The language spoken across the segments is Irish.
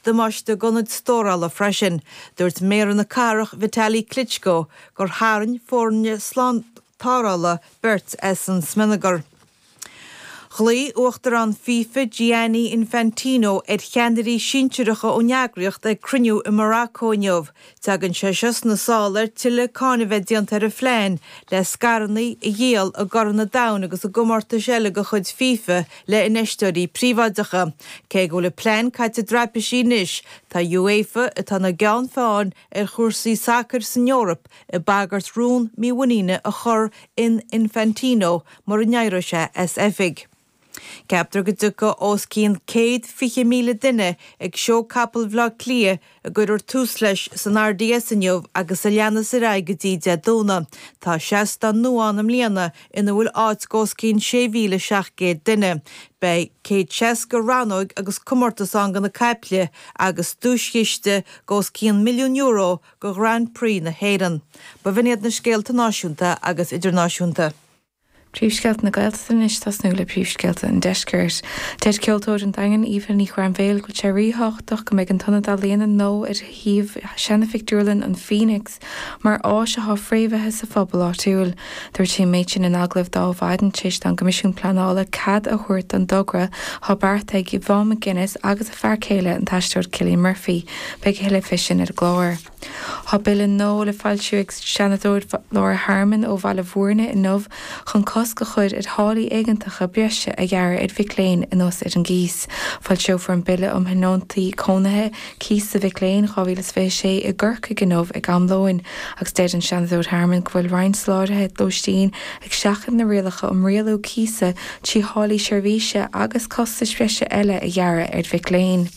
Damáiste d'ionaid stórála freisin. Dúirt Méara na cathrach Vitali Klitschko gur tharraing foirne slántarrthála beirt as an smionagar. Ghlaoigh Uachtarán FIFA Gianni Infantino ar cheannairí sinsearacha ón eagraíocht ag cruinniú i Morocco inniu. Tagann sé seo sna sála ar tuilleadh cáineadh bheith déanta ar a phlean le scaireanna a dhíol i gCorn an Domhain agus i gcomórtais eile de chuid FIFA le infheisteoirí príobháideacha. Cé go bhfuil an plean caite i dtraipisí anois, tá UEFA, atá ina gceann feadhain ar chúrsaí sacair san Eoraip, ag bagairt rún mímhuiníne a chur in Infantino mura n-éireoidh sé as oifig. Ceaptar go dtiocfaidh os cionn 120,000 duine ag Seó Capall Bhaile Átha Cliath a gcuirfear tús leis san RDS inniu agus a leanfas ar aghaidh go dtí Dé Domhnaigh. Tá seastán nua ann i mbliana ina bhfuil áit d'os cionn 6,700 duine. Beidh 160 rannóg agus comórtas ann do na caiple agus duaischiste d'os cionn €1,000,000 do Ghrand Prix na hÉireann. B'in iad na scéalta náisiúnta agus idirnáisiúnta. Príomhscéalta na Gaeltachta anois, tosnú le príomhscéalta an Deiscirt. Deir ceoltóir an Daingin, Aoife Ní Ghrainbhéil, go bhfuil sé ríthábhachtach go mbeidh an t-ionad ealaíona nua ar shuíomh seana-phictiúrlann an Phoenix mar áis atá fréamhaithe sa phobal áitiúil. Dúirt sí an méid sin in agallamh d'Adhmhaidin tar éis don gCoimisiún Pleanála cead a thabhairt don dtogra atá beartaithe ag Yvonne McGuinness agus a fear céile, an t-aisteoir Cillian Murphy. Beidh a thuilleadh fé sin ar an gclár. Tá bille nua le foilsiú ag Seanadóir Laura Harmon ó Bhaile Bhúirne inniu chun cosc a chur ar tháillí éigeantacha breise a ghearradh ar mhic léinn anuas ar an gcíos. Foilseofar an Bille um Thionóntaí Cónaithe, Cíos do Mhic Léinn, 2026 i gCorcaigh inniu ag am lóin agus deir an Seanadóir Harmon go bhfuil roinnt soláthraithe lóistín ag seachaint na rialacha um rialú cíosa trí tháillí seirbhíse agus costais bhreise eile a ghearradh ar mhic léinn.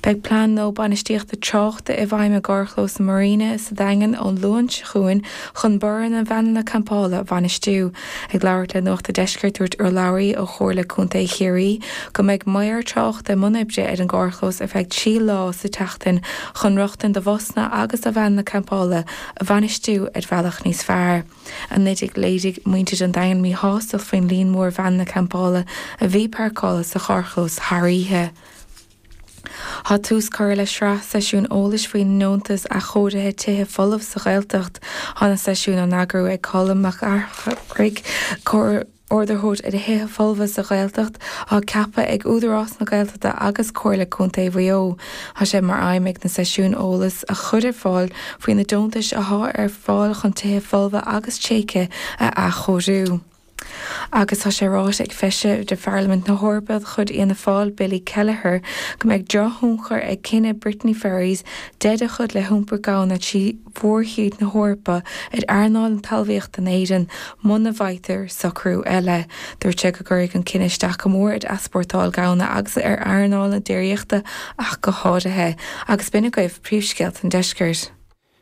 Beidh plean nua bainistíochta tráchta i bhfeidhm i gcarrchlós na Marina sa Daingean ón Luan seo chugainn chun borradh na veaineanna campála a bhainistiú. Ag labhairt le Nuacht a' Deiscirt dúirt urlabhraí ó Chomhairle Contae Chiarraí go mbeidh maor tráchta i mbun oibre ar an gcarrchlós ar feadh 3 lá sa tseachtain chun rochtain do bhusanna agus do veaineanna campála a bhainistiú ar bhealach níos fearr. 19 Léirigh muintir an Daingin míshástacht faoin líon mór veaineanna campála a bhí páirceáilte sa charrchlós thar oíche. Tá tús curtha le sraith seisiún eolais faoin nDeontas Athchóirithe Tithe Folamh sa Ghaeltacht. Tá na seisiúin á n-eagrú ag Colm Mac Fhearchair, Comhordaitheoir ar Thithe Folmha sa Ghaeltacht, atá ceaptha ag Údarás na Gaeltachta agus Comhairle Contae Mhaigh Eo. Tá sé mar aidhm ag na seisiúin eolas a chur ar fáil faoi na deontais atá ar fáil chun tithe folmha agus tréigthe a athchóiriú. Agus tá sé ráite ag Feisire de Pharlaimint na hEorpa de chuid Fhianna Fáil, Billy Kelleher, go mbeidh drochthionchar ag cinneadh Brittany Ferries deireadh a chur le hiompar gamhna trí mhórthír na hEorpa ar earnáil na talmhaíochta in Éirinn muna bhfaightear socrú eile. Dúirt sé go gcuirfidh an cinneadh isteach go mór ar easpórtáil gamhna agus ar earnáil na déiríochta ach go háirithe. Agus b'in agaibh príomhscéalta an deiscirt.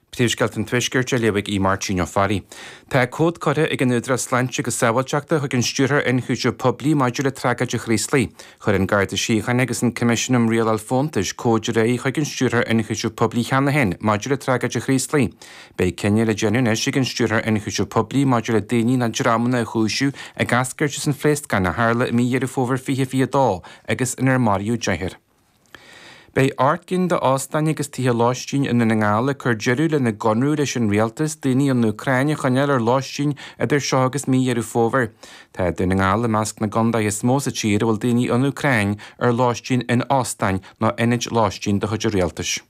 Príomhscéalta an Tuaiscirt á léamh ag Aodh Máirtín Ó Fearraigh. Tá comhad curtha ag an Údarás Sláinte agus Sábháilteachta chuig an Stiúrthóir Ionchúiseamh Poiblí maidir le tragóid an Chraoslaigh. Chuir an Garda Síochána agus an Coimisiún um Rialáil Fóntais comhaid ar aghaidh chuig an Stiúrthóir Ionchúiseamh Poiblí cheana féin maidir le tragóid an Chraoslaigh. Beidh cinneadh le déanamh anois ag an Stiúrthóir Ionchúiseamh Poiblí maidir le daoine nó dreamanna a chúiseamh ag eascairt as an phléascán a tharla i mí Dheireadh Fómhair 2022 agus inar maraíodh deichniúr. Beidh 8 gcinn d'óstáin agus tithe lóistín i nDún na nGall ag cur deireadh lena gconradh leis an rialtas daoine ón Úcráin a choinneáil ar lóistín idir seo agus mí Dheireadh Fómhair. Tá Dún na nGall i measc na gcontaetha is mó sa tír a bhfuil daoine ón Úcráin ar lóistín in óstáin nó ionaid lóistín de chuid an rialtais.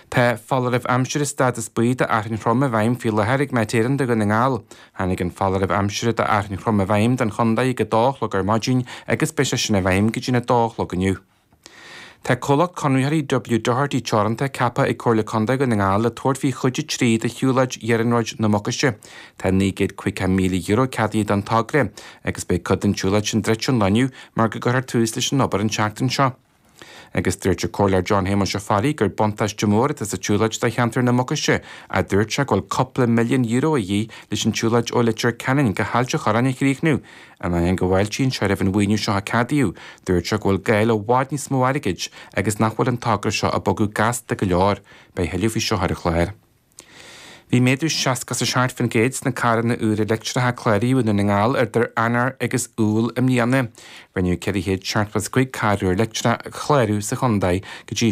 Tá foláireamh aimsire stádas buí do fhearthainn throm i bhfeidhm faoi láthair ag Met Éireann do Dhún na nGall. Tháinig an foláireamh aimsire do fhearthainn throm i bhfeidhm don chontae ag 2 a chlog ar maidin agus beidh sé sin i bhfeidhm go dtí'n 2 a chlog inniu. Tá comhlacht conraitheoirí W Doherty Teoranta ceaptha ag Comhairle Contae Dhún na nGall le tabhairt faoi chuid 3 de shiúlóid iarnróid na Mucaise. Tá €950,000 ceadaithe don togra agus beidh cuid den tsiúlóid sin druidte ón lá inniu mar go gcuirfear tús leis an obair an tseachtain seo. Agus dúirt an Comhairleoir John Shéamuis Ó Fearraigh gur buntáiste mór atá sa tsiúlóid do cheantar na Mucaise ach dúirt sé go bhfuil cúpla €1 milliún a dhíth leis an tsiúlóid ó Leitir Ceanainn go hAilt an Chorráin a chríochnú. In ainneoin go bhfáiltíonn sé roimh an mhaoiniú seo a ceadaíodh, dúirt sé go bhfuil gá le i bhfad níos mó airgid agus nach bhfuil an togra seo ag bogadh gasta go leor. Beidh a thuilleadh faoi seo ar an chlár. Bhí méadú 67% sna carranna úra leictreacha a cláraíodh i nDún na nGall idir Eanáir agus Iúil i mbliana. Rinneadh 475 carr úr leictreach a chlárú sa chontae go dtí.